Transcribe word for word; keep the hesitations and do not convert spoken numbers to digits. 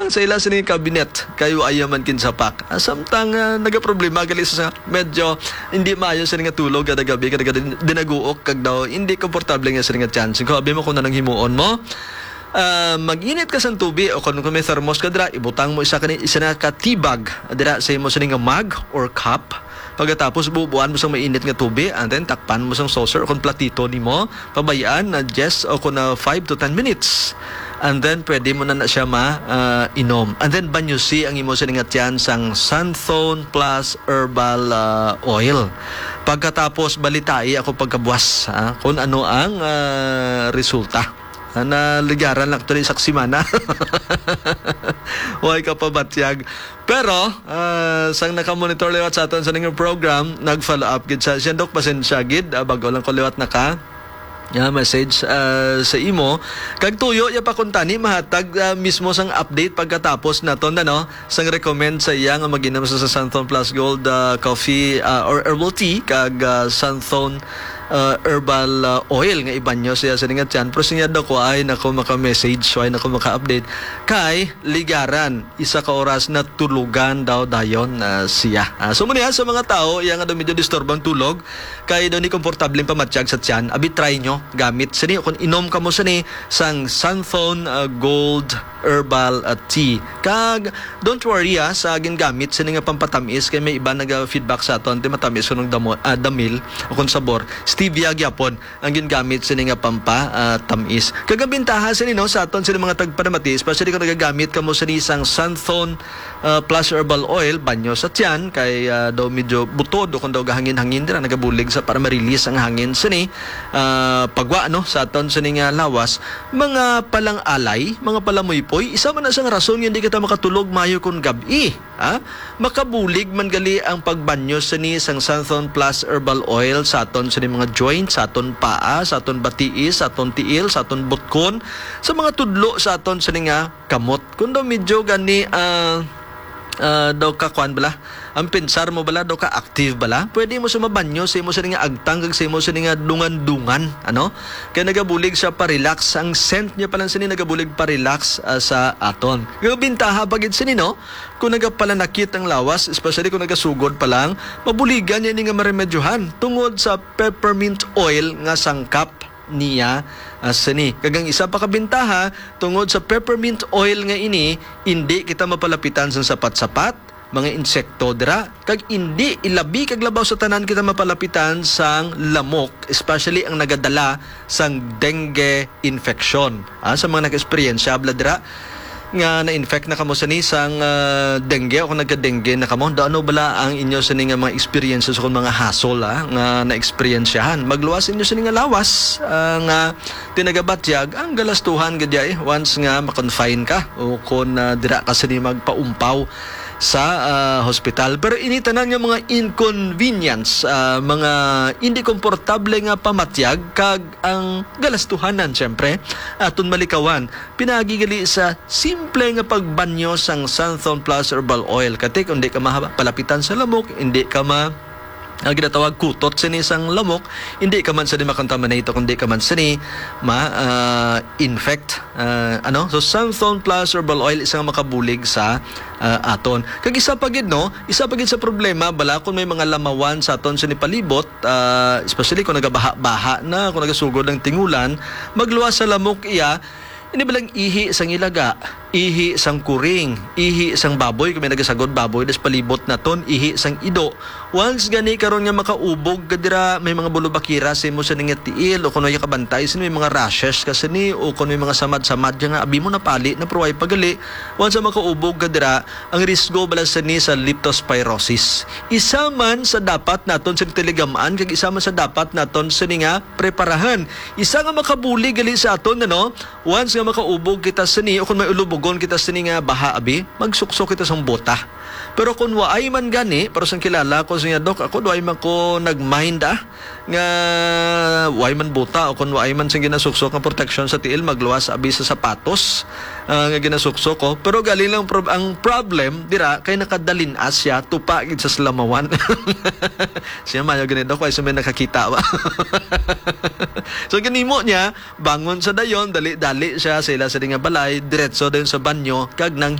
sa ila sini kabinet, kayo ayaw man kinsapak. Ah, samtang, ah, nagaproblema gali sa medyo hindi maayo sini nga tulog kada gabi, kada, kada din-, dinaguok kag daw hindi komportable nga sini nga tiyan. Sige, abi mo kung anong himuon mo. Ah, mag-init ka sang tubi o kung, kung may thermos ka dira, ibutang mo isa kani, isa na ka tea bag dira sa imo sini nga mug or cup. Pagkatapos, bubuan mo sang mainit nga tubi, and then takpan mo sang saucer o kung platito nimo, pabayaan na diyes o kung na five to ten minutes. And then, pwede mo na na siya ma, ah, inom. And then, banyusi ang imo sini nga tiyan sang Santhon Plus Herbal, ah, Oil. Pagkatapos, balitai ako pagkabuas, ah, kung ano ang, ah, resulta. Ah, naligaran lang tuloy sa semana. Way ka pabatyag. Pero, ah, sang nakamonitor liwat sa aton sa ning program, nag-follow up gid sa siya, Dok, pasensya gid, ah, bago lang ko liwat naka, ah, message, ah, sa imo. Kag tuyo ya pa kuntani, mahatag, ah, mismo sang update pagkatapos naton, ano, sang recommend sa iya nga mag-inom sa, sa Santhon Plus Gold, ah, coffee, ah, or herbal tea, kag, ah, Santhon, ah, herbal, ah, oil nga ibanyo siya sa ningat yan. Pero siya daw ko ay nako maka-message, so ay nako maka-update. Kay ligaran, isa ka oras na tulugan daw dayon, ah, siya. Ah, so, muna sa mga tao, iya nga daw medyo disturbang tulog, kay daw ni komportable pamatyag sa tiyan, abi try nyo, gamit sini, kung inom ka mo sini, sang Santhon, ah, Gold Herbal, ah, Tea. Kag, don't worry, ah, sa gingamit sini nga pampatamis, kay may iba naga-feedback sa aton, di matamis ko ng damo, ah, damil, o kung sabor, stevia gyapon ang gingamit sini nga pampa, ah, tamis. Kag ang bintaha sini, no, sa aton sini mga tagpanamati, especially kung nagagamit kamo sini sang Santhon, ah, Plus Herbal Oil, banyo sa tiyan, kay, ah, daw medyo butod o kung daw gahangin-hangin dira, nagabulig sa para ma-release ang hangin sini, ah, pagwa, no, sa aton sini nga lawas. Mga palang-alay, mga palamuypoy, isa man na sang rason nga hindi kita makatulog mayo kung gab-i. Ha? Makabulig man gali ang pagbanyo sini sang Santhon Plus Herbal Oil sa aton sini mga joints, sa aton paa, sa aton batiis, sa aton tiil, sa aton butkon, sa mga tudlo sa aton sini nga kamot. Kung daw medyo gani, ah, ah, daw ka kwan bala, ang pensar mo bala, daw ka active bala, pwede mo sa mabanyo sa imo sini nga agtang kag sa imo sini nga dungan-dungan, ano? Kaya nagabulig siya pa-relax. Ang scent niya pa lang sini nagabulig pa-relax, ah, sa aton. Kaya bintaha pa gid sini, no? Kung nagapalanakit ang lawas, especially kung nagasugod pa lang, mabuligan niya ini nga maremedyohan tungod sa peppermint oil nga sangkap niya, ah, sini. Kag ang isa pa ka bintaha, tungod sa peppermint oil nga ini, indi kita mapalapitan sang sapat-sapat, mga insekto dira, kag indi ilabi kag labaw sa tanan kita mapalapitan sang lamok, especially ang nagadala sang dengue infection. Ah, sa mga nag-eksperyensya, bala dira, nga na-infect na kamo sini sang, ah, dengue o kung nagka-dengue na kamo, daw ano bala ang inyo sini nga mga experiences o kung mga hassle, ah, nga na-eksperyensyahan? Magluwas inyo sini nga lawas, ah, nga tinagabatyag ang galastuhan gid ay once nga ma-confine ka o kung, ah, dira ka sini magpaumpaw sa, ah, hospital. Pero ini tanan nga mga inconvenience, ah, mga hindi komportable nga pamatyag kag ang galastuhanan, siyempre, aton malikawan. Pinaagi gali sa simple nga pagbanyo sang Santhon Plus Herbal Oil. Kati, kung di ka mahaba, palapitan sa lamok, hindi ka ma-, ang ginatawag kutot sini sang lamok, hindi ka man sini makontaminate, kung di ka man sini ma, ah, infect. Ah, ano? So, Santhon Plus Herbal Oil, isang makabulig sa, ah, aton. Kag isa pa gid, no? Isa pa gid sa problema, bala, kung may mga lamawan sa aton sini palibot, ah, especially kung nagabaha-baha na, kung nagasugod ang tingulan, magluwas sa lamok iya, ini balang ihi sang ilaga, ihi sang kuring, ihi sang baboy, kung may nagasagod baboy, das palibot naton, ihi sang ido. Once gani karon nga makaubog ka dira, may mga bulubakira sa imo sa nga tiil, o kung may kabantay sa may mga rashes ka sini, o kung may mga samad-samad ka nga, abi mo napali na pruway pagali, once nga makaubog ka dira, ang risgo bala sini sa leptospirosis. Isa man sa dapat naton sini tiligamaan, kag isa man sa dapat naton sini nga preparahan. Isa nga makabulig gali sa aton, ano, once nga makaubog kita sini, o kung may ulubogon kita sini nga baha, abi, magsuksok kita sang bota. Pero kung waay man gani, pero sang kilala ko siya, Dok, ako, waay man ko nag-mind, ah, nga waay man bota, o kung waay man sing ginasuksok nga proteksyon sa tiil, magluwas, abi, sa sapatos, ah, nga ginasuksok ko. Pero galing lang, prob-, ang problem, dira, kay nakadalin-as siya, tupa gid sa salamawan. Siya, mayo gani, Dok, kay sa may nakakita ba? So, ginimo niya, bangon sa dayon, dali-dali siya sa ila sa nga balay, diretso dayon sa banyo, kag nang